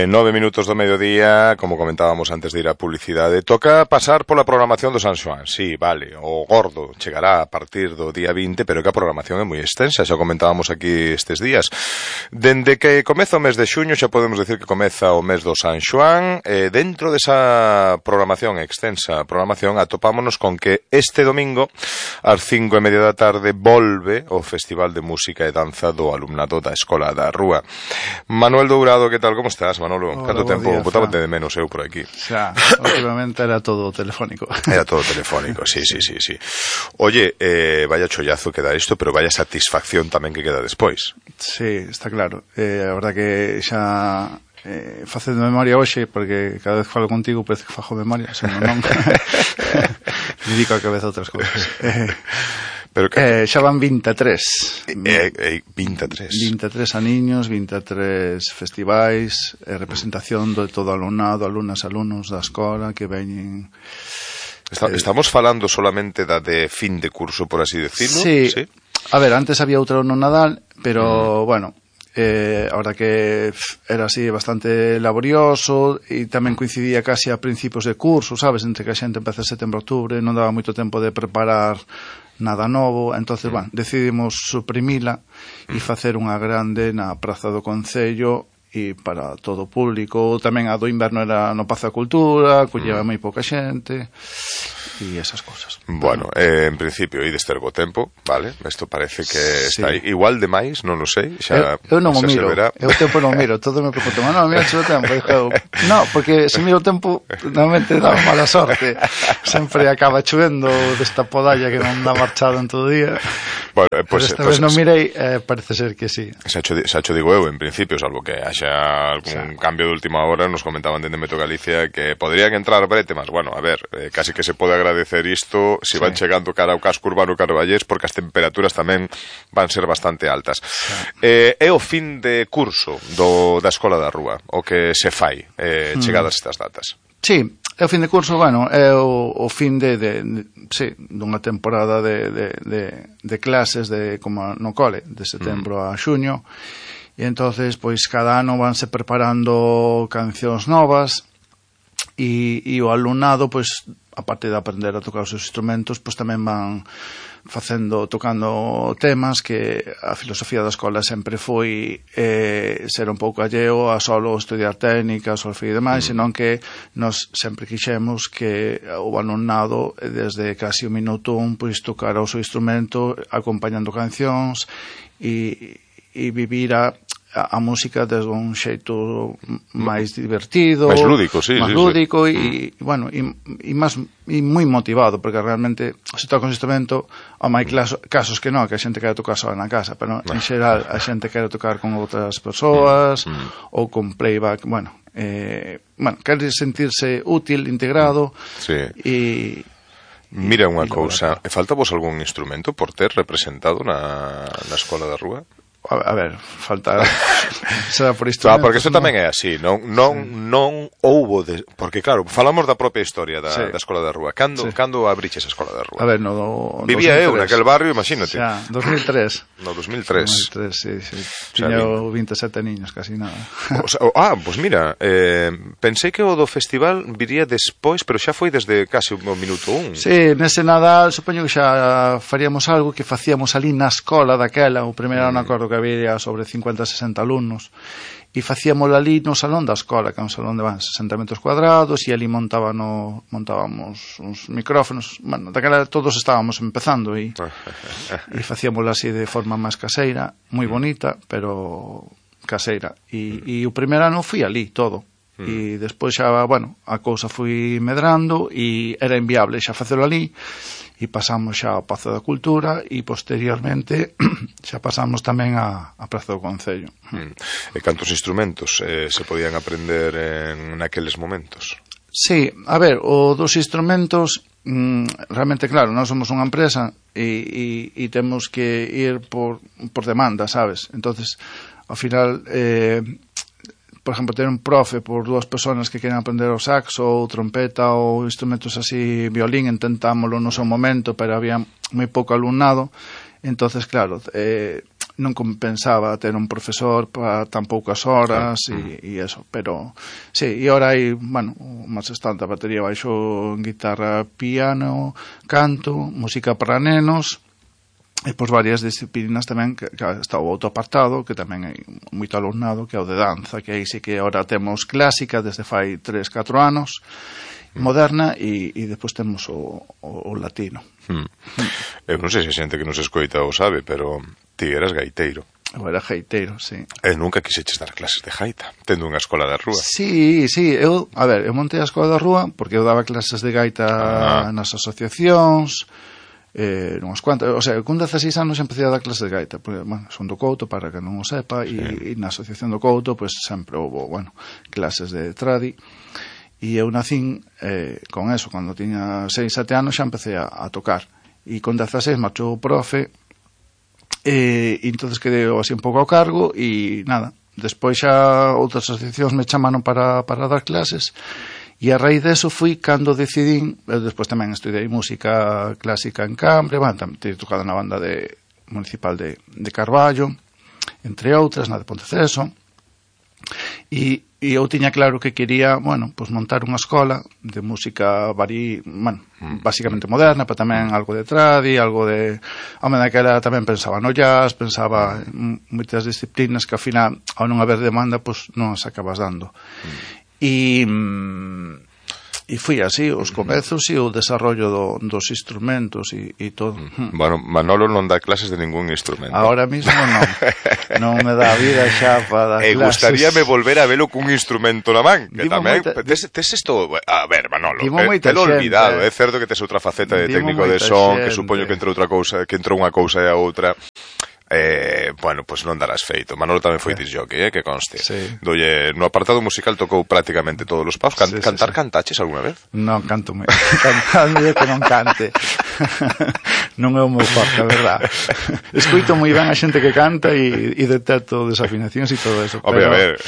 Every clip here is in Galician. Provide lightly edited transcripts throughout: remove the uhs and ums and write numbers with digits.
9 minutos do mediodía, como comentábamos antes de ir a publicidade. Toca pasar pola programación do San Xoán. Sí, vale, o gordo chegará a partir do día 20, pero que a programación é moi extensa, xa comentábamos aquí estes días. Dende que comeza o mes de xuño, xa podemos decir que comeza o mes do San Xoán. Dentro desa programación extensa, atopámonos con que este domingo, ás 5:30 da tarde, volve o Festival de Música e Danza do alumnado da Escola da Rúa. Manuel Dourado, que tal, como estás, Manolo? Hola, Canto tempo día, botábate de menos eu por aquí? Xa, últimamente era todo telefónico. Era todo telefónico, sí. Oye, vaya chollazo que da isto, pero vaya satisfacción tamén que queda despois. Sí, está claro. A verdad que xa facendo memoria hoxe, porque cada vez que falo contigo parece que fajo memoria, senón non. Me dedico a cabeza a outras cousas. Pero que... xa van 23. 23 aniños, 23 festivais, representación de todo o alumnado, alumnos da escola que veñen... Estamos falando solamente da de fin de curso, por así decirlo? Sí. A ver, antes había outra no Nadal, pero, bueno, ahora que era así bastante laborioso e tamén coincidía casi a principios de curso, sabes, entre que a xente empeza setembro, outubro, non daba moito tempo de preparar nada novo, entonces, bueno, decidimos suprimila e facer unha grande na Praza do Concello e para todo o público. Tamén a do inverno era no Pazo da Cultura, colleva moi pouca xente e esas cousas. Bueno, en principio ides ter bo tempo, vale? Isto parece que está aí. Igual de máis, non o sei. Eu non o miro, eu o tempo non miro. Todo me pregunto, non, mira o tempo. No, porque se miro o tempo normalmente dá mala sorte. Sempre acaba chovendo desta podalla que non dá marchado en todo o día. Bueno, pues, esta vez non mirei, parece ser que sí. Xa cho digo eu, en principio, salvo que haxa algún cambio de última hora, nos comentaban dende Meteo Galicia que podrían entrar brete, mas bueno, a ver, casi que se pode agradecer isto se van chegando cara ao casco urbano Carballés, porque as temperaturas tamén van ser bastante altas. É o fin de curso da Escola da Rúa, o que se fai chegadas estas datas. Sí, é o fin de curso, bueno, é o fin dunha temporada de clases como no cole, de setembro a xuño, e entonces, pois, cada ano vanse preparando cancións novas e o alumnado, pois, aparte de aprender a tocar os seus instrumentos, pois tamén van tocando temas que a filosofía da escola sempre foi ser un pouco alleo a solo estudiar técnicas, solfeo e demais, senón que nós sempre quixemos que o alumnado desde casi o minuto pois tocara o seu instrumento acompañando cancións e vivir a música desde un xeito máis divertido, máis lúdico, e bueno, e moi motivado, porque realmente se toca un instrumento, hai casos que non, que a xente quere tocar só na casa, pero en xeral a xente quere tocar con outras persoas ou con playback, quere sentirse útil, integrado e mira unha cousa, falta vos algún instrumento por ter representado na Escola da Rúa? A ver, falta será por instrumentos. Porque isto tamén é así, non houbo porque claro, falamos da propia historia da Escola da Rúa. Cando abriches a Escola da Rúa? A ver, vivía eu naquel barrio, imagínate. Xa, 2003. No 2003. Sí. Tiña 27 niños, casi nada. Pois mira, pensei que o do festival viría despois, pero xa foi desde casi o minuto 1. Sí, nese Nadal, supoño que xa faríamos algo que facíamos ali na escola daquela, o primeiro ano acordo que había sobre 50-60 alumnos e facíamos ali no salón da escola, que é un salón de 60 metros cuadrados, e ali montábamos uns micrófonos, bueno, daquela todos estábamos empezando e facíamos así de forma máis caseira, moi bonita, pero caseira, e o primeiro ano fui ali todo, e despois xa, bueno, a cousa foi medrando e era inviable xa facelo ali, e pasamos xa ao Pazo da Cultura e posteriormente xa pasamos tamén a Praza do Concello. E cantos instrumentos se podían aprender en naqueles momentos? Sí, a ver, o dos instrumentos realmente, claro, nós somos unha empresa e temos que ir por demanda, sabes? Entonces, ao final por exemplo, ter un profe por dúas personas que queren aprender o saxo ou trompeta ou instrumentos así, violín, intentámoslo no seu momento, pero había moi pouco alumnado, entonces, claro, non compensaba ter un profesor para tan poucas horas e eso, pero sí, e ahora hai, bueno, máis estante a batería, baixo, guitarra, piano, canto, música para nenos e pois varias disciplinas tamén, que está o outro apartado, que tamén hai moito alumnado, que é o de danza, que aí sí que ahora temos clásica desde fai 3-4 anos, moderna, e depois temos o latino. Eu non sei se a xente que nos escoita o sabe, pero ti eras gaiteiro. Eu era gaiteiro, sí. E nunca quixeches dar clases de gaita, tendo unha escola da rúa. Sí, eu montei a escola da rúa porque eu daba clases de gaita nas asociacións, unhas cuantas, o sea, con 16 anos empecé a dar clases de gaita, porque, bueno, son do Couto, para que non o sepa, e na asociación do Couto, pues sempre houve, bueno, clases de tradi, e eu nacín con eso, cando tiña 6-7 anos xa empecé a tocar, e con 16 marchou o profe, e entonces quedei así un pouco ao cargo, e nada, despois xa outras asociacións me chamaron para dar clases, e a raíz deso fui cando decidín, despois tamén estudei música clásica en Cambre, bueno, tamén teño tocado na banda municipal de Carballo, entre outras, na de Ponteceso, e eu tiña claro que quería, bueno, pues montar unha escola de música basicamente moderna, pero tamén algo de tradi, algo de... Home, daquela tamén pensaba no jazz, pensaba en moitas disciplinas que ao final, ao non haber demanda, pues non as acabas dando. E foi así, os comezos e o desarrollo dos instrumentos e todo. Bueno, Manolo non dá clases de ningún instrumento. Ahora mismo non me dá vida xa para dar clases. Gustaríame volver a velo cun instrumento na man, que tamén tes isto, a ver, Manolo, telo olvidado, é certo que tes outra faceta de técnico de son, que supoño que entre outra cousa, que entrou unha cousa e a outra. Bueno, pois non darás feito. Manolo tamén foi disc jockey, que conste. Dolle, no apartado musical tocou prácticamente todos os paus. Cantaches alguna vez? Non, canto moi. Cantando que non cante. Non é o meu forte, a verdad. Escoito moi ben a xente que canta e detecto desafinacións e todo eso. Hombre, a ver.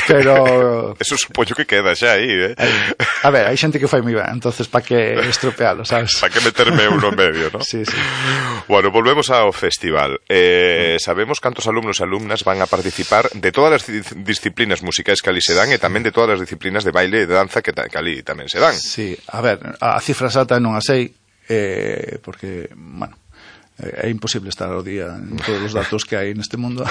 Pero eso supoño que queda xa aí, A ver, hai xente que fai moi ben, entonces pa que estropealo, sabes? Pa que meterme uno en medio, ¿no? Sí. Bueno, volvemos ao festival. Sabemos cantos alumnos e alumnas van a participar de todas as disciplinas musicais que ali se dan e tamén de todas as disciplinas de baile e de danza que ali tamén se dan. Sí, a ver, a cifra exata non a sei, porque, bueno, é imposible estar ao día en todos os datos que hai neste mundo,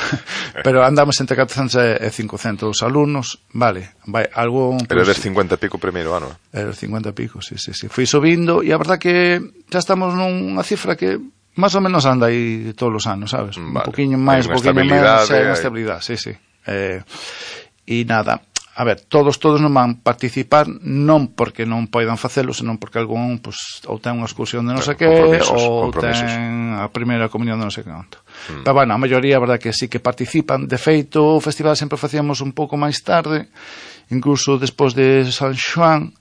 pero andamos entre 400 e 500 alumnos, vale, vai, algo... Pero eres 50 e pico primeiro ano. Era 50 e pico, sí. Fui subindo e a verdad que xa estamos nunha cifra que máis ou menos anda aí todos os anos, sabes? Vale. Un poquinho máis, un poquinho menos, unha estabilidade, sí. E nada, a ver, todos non van participar, non porque non poidan facelo, senón porque algún, pues, ou ten unha excursión de non sei que, ou ten a primeira comunión de non sei que canto. Pero, bueno, a maioría, a verdad, que sí que participan. De feito, o festival sempre facíamos un pouco máis tarde, incluso despois de San Xoán,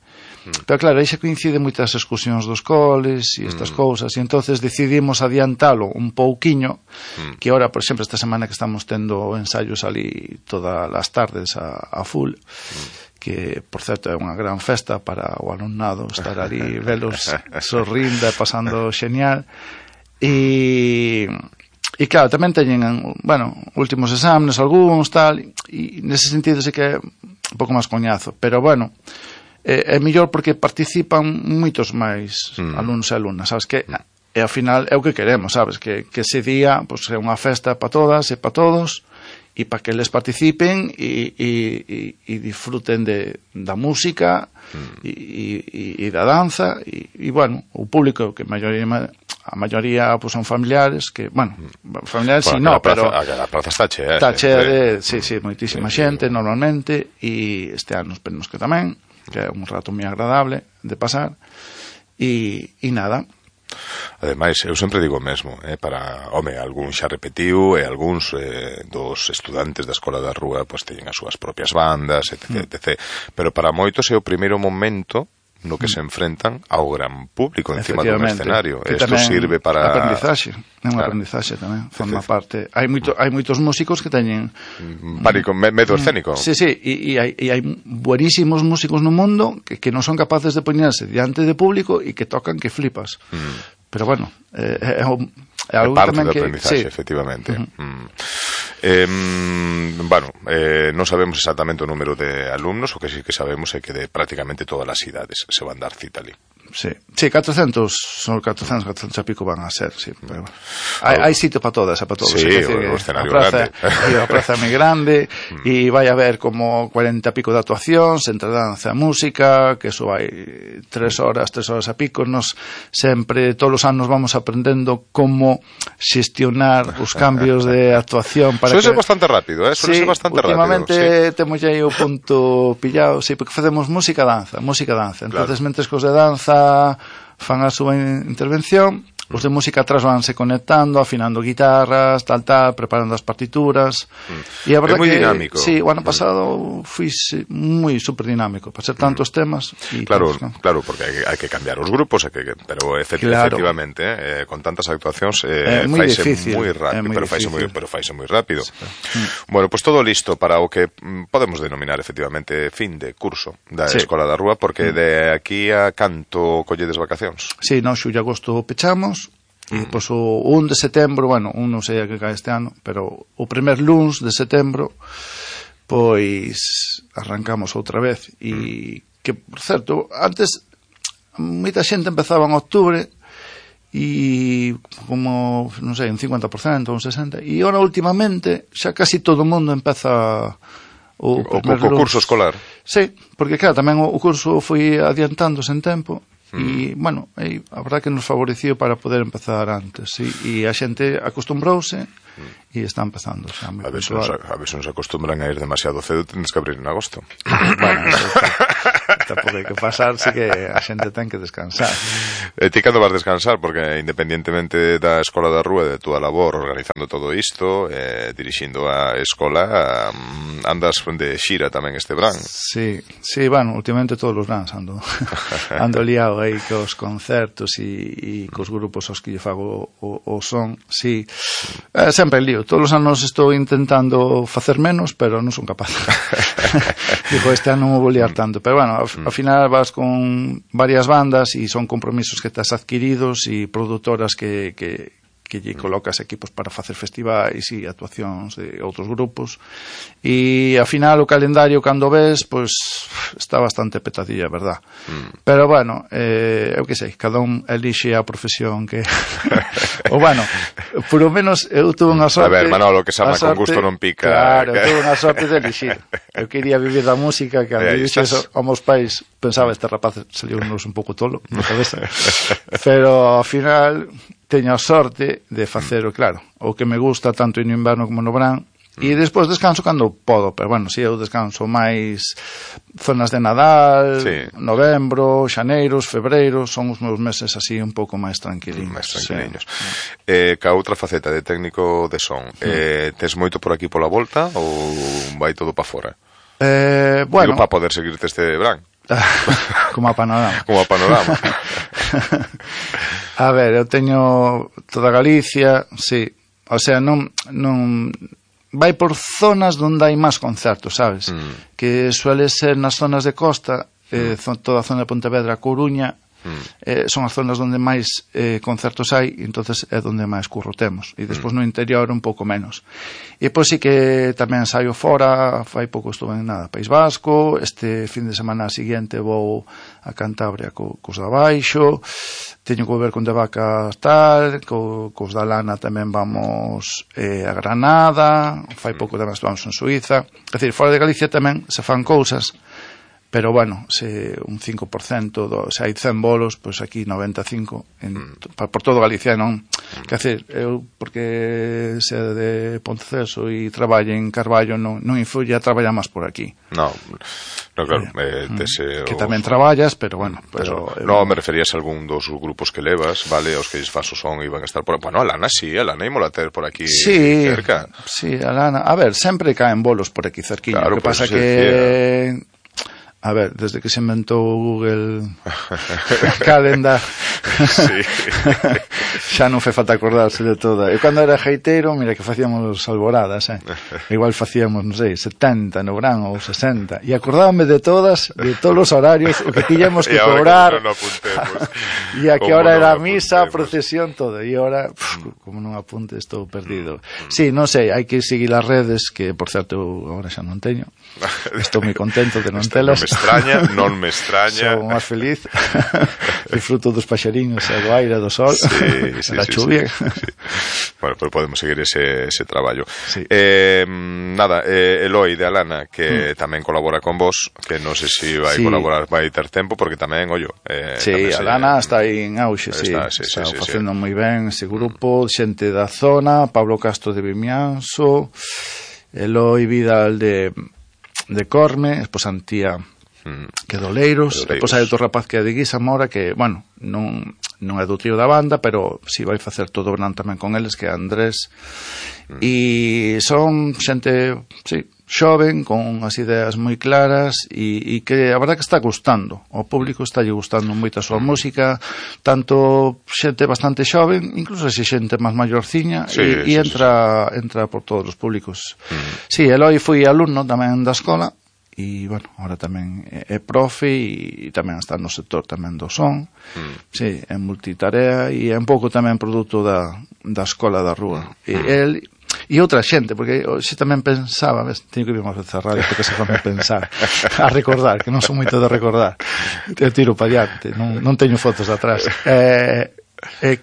pero claro, aí xa coincide moitas excursións dos coles e estas cousas, e entonces decidimos adiantalo un pouquiño, que ahora, por exemplo, esta semana que estamos tendo ensaios ali todas as tardes a full, que, por certo, é unha gran festa para o alumnado estar ali, velos sorrindo e pasando xenial, e claro, tamén teñen, bueno, últimos exámenes, algúns, tal, e nese sentido sí que é un pouco máis coñazo, pero bueno, é mellor porque participan moitos máis alumnos e alumnas, sabes, que ao final é o que queremos, sabes, que ese día pues, é unha festa para todas e para todos, e para que eles participen e disfruten da música e da danza e bueno, o público que a maioría pues, son familiares que, bueno, familiares si no, pero a praza está chea. Está chea de, sí, moitísima xente normalmente, e este ano esperemos que tamén, que é un rato moi agradable de pasar, e nada. Ademais, eu sempre digo o mesmo, para, home, algún xa repetiu e algúns dos estudantes da Escola da Rúa pois teñen as súas propias bandas, etc. Pero para moitos é o primeiro momento no que se enfrentan ao gran público encima dun escenario. Isto sirve para... Aprendizaxe, é unha aprendizaxe tamén, forma parte. Hai moitos músicos que teñen... medo escénico. Sí, e hai buenísimos músicos no mundo que non son capaces de poñerse diante de público e que tocan que flipas. Pero bueno, algo parte tamén do que aprendizaxe, sí. efectivamente. Bueno, non sabemos exactamente o número de alumnos, o que sí que sabemos é que de prácticamente todas as idades se van dar cita ali. Sí, 400 e pico van a ser, sí, pero hai sitio para todas, para todos. Sí, o escenario grande. A praza é moi grande e vai haber como 40 e pico de actuacións entre danza e música, que eso vai 3 horas a pico. Nos sempre, todos os anos vamos aprendendo como xestionar os cambios de actuación para Suele ser bastante rápido, suele ser bastante rápido. Últimamente temos aí o punto pillado, sí, porque facemos música-danza. Entonces, mentres cos de danza fan a súa intervención, os de música atrás vanse conectando, afinando guitarras, tal, preparando as partituras. E a verdad é moi que, dinámico. Sí, o ano pasado foi moi super dinámico, para ser tantos temas. Claro, porque hai que cambiar os grupos, pero efectivamente, con tantas actuacións faise moi rápido, pero faise moi rápido. Bueno, pues todo listo para o que podemos denominar efectivamente fin de curso da Escola da Rúa, porque de aquí a canto colledes vacacións? Sí, xullo e agosto pechamos. E pois o 1 de setembro, bueno, non sei a que cae este ano, pero o primer luns de setembro pois arrancamos outra vez. E que, por certo, antes moita xente empezaba en octubre e como, non sei, un 50%, un 60%, e agora últimamente xa casi todo o mundo empeza o curso escolar. Sí, porque claro, tamén o curso foi adiantándose en tempo. E, bueno, a verdad que nos favoreció para poder empezar antes, sí? E a xente acostumbrouse e está empezando xa moi puntual. A ver se nos acostumbran a ir demasiado cedo, tens que abrir en agosto. Bueno, tampouco hai que pasar, sí que a xente ten que descansar. Ti cando vas descansar? Porque independientemente da Escola da Rúa, de túa labor organizando todo isto, dirixindo a escola, andas de xira tamén este verán. Sí, bueno, últimamente todos os veranos ando liado aí cos concertos e cos grupos aos que lle fago o son, sí. Sempre lío, todos os anos estou intentando facer menos, pero non son capaz. Digo, este ano non vou liar tanto, pero bueno, ao final vas con varias bandas e son compromisos que estás adquiridos e produtoras que lle colocas equipos para facer festivais e actuacións de outros grupos, e ao final o calendario cando ves, pois está bastante petadilla, verdad? Pero bueno, eu que sei, cada un elixe a profesión que o bueno, por lo menos eu tuve unha sorte. A ver, Manolo, que sama con gusto non pica. Claro, tuve unha sorte de elixir. Eu quería vivir da música, que cando dixes aos meus pais pensaba, este rapaz saliu un pouco tolo na cabeza, pero ao final teño a sorte de facelo, claro, o que me gusta tanto no inverno como no verán, e despois descanso cando podo, pero bueno, si eu descanso máis zonas de Nadal, novembro, xaneiros, febreiros, son os meus meses así un pouco máis tranquiliños. Ca outra faceta de técnico de son, tes moito por aquí pola volta ou vai todo pa fora? Bueno, digo, para poder seguirte este verán. Como a panorama. A ver, eu teño toda Galicia, sí. O sea, non vai por zonas onde hai máis concertos, sabes? Que suele ser nas zonas de costa, toda a zona de Pontevedra, Coruña, son as zonas onde máis concertos hai, e entonces é onde máis curro temos, e despois no interior un pouco menos. E pois sí que tamén saio fora, fai pouco estuve en País Vasco, este fin de semana seguinte vou a Cantabria cos da Baixo, teño que volver con de Vacas tal, cos da Lana tamén vamos a Granada, fai pouco tamén vamos en Suiza, é dicir, fora de Galicia tamén se fan cousas, pero bueno, se un 5%, se hai 100 bolos, pois aquí 95 por todo Galicia, non? Que hacer, eu, porque se de Ponteceso e traballo en Carballo, non influye a traballar máis por aquí. No, claro, que tamén traballas, pero bueno, no, me referías a algún dos grupos que levas, vale, os que faso son iban a estar por, bueno, a Lana ímola ter por aquí cerca. Sí, a Lana, a ver, sempre caen bolos por aquí cerquiña, claro, o que pasa que a ver, desde que se inventou Google Calendar, Sí. Xa non fe falta acordarse de toda. Eu cando era geiteiro, mira que facíamos alboradas, igual facíamos, non sei, 70 no verán ou 60, e acordábame de todos os horarios, o que tiñamos que cobrar, e a que hora era a misa, a procesión, todo, e ahora, como non apunte, estou perdido. Sí, non sei, hai que seguir as redes, que, por certo, eu agora xa non teño. Estou moi contento de non telas. Non me extraña. Sou máis feliz. Disfruto dos paxariños, do aire, do sol, da chuvia. Sí. Bueno, pues podemos seguir ese traballo. Sí. Nada, Eloi de Alana, que tamén colabora con vos, que non sei se vai colaborar, vai ter tempo, porque tamén, ollo... Sí, Alana está aí en auxe, está facendo moi ben ese grupo, xente da zona, Pablo Castro de Vimianzo, Eloi Vidal de Corme, esposa Antía que é de Oleiros, depois hai outro rapaz que é de Guisamora, que, bueno, non é do trío da banda, pero si vai facer todo o verán tamén con eles, que é Andrés, e son xente, xoven, con as ideas moi claras, e que a verdad que está gustando, o público está lle gustando moito a súa música, tanto xente bastante xoven, incluso se xente máis maiorciña, e entra por todos os públicos. Sí, Eloi foi alumno tamén da escola, e, bueno, ahora tamén é profe e tamén está no sector tamén do son, sí, é multitarea e é un pouco tamén produto da escola da rúa. E outra xente, porque xe tamén pensaba, teño que vir máis veces a radio porque se fame pensar, a recordar, que non son moito de recordar, eu tiro para diante, non teño fotos de atrás.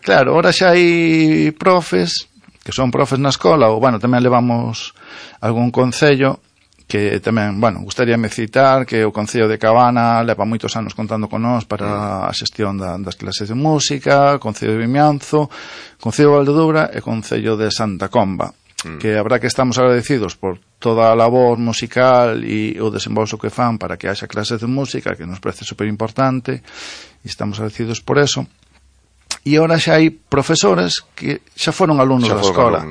Claro, ahora xa hai profes que son profes na escola, ou, bueno, tamén levamos algún concello que tamén, bueno, gustaríame citar que o Concello de Cabana leva moitos anos contando con nós para a xestión das clases de música, Concello de Vimianzo, Concello de Valdedoura e Concello de Santa Comba, que habrá que estamos agradecidos por toda a labor musical e o desembolso que fan para que haxa clases de música, que nos parece super importante, e estamos agradecidos por eso. E agora xa hai profesores que xa foron alumnos da escola.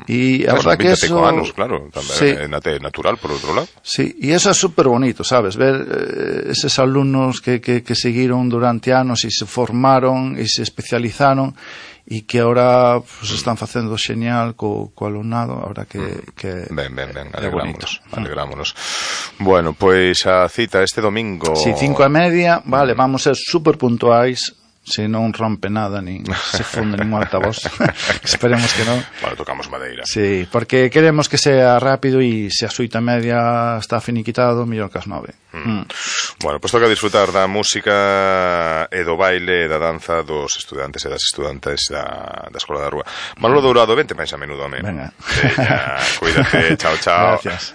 E a verdad que eso... anos, claro, tamén é natural, por outro lado. Sí, e eso é super bonito, sabes? Ver eses alumnos que seguiron durante anos e se formaron e se especializaron e que agora pues, están facendo xenial co alumnado, ahora que ben, alegrámonos. Bueno, pois a cita este domingo... Sí, 5:30, vale, vamos ser super puntuais, se non rompe nada, nin se funde nin altavoz. Esperemos que non. Bueno, tocamos madeira. Sí, porque queremos que sea rápido e se a 8:30 está finiquitado, mellor que as 9. Bueno, pois toca disfrutar da música e do baile e da danza dos estudantes e das estudantes da Escola da Rúa. Manolo Dourado, vente máis a menudo, home. Venga. Cuídate, chao. Gracias.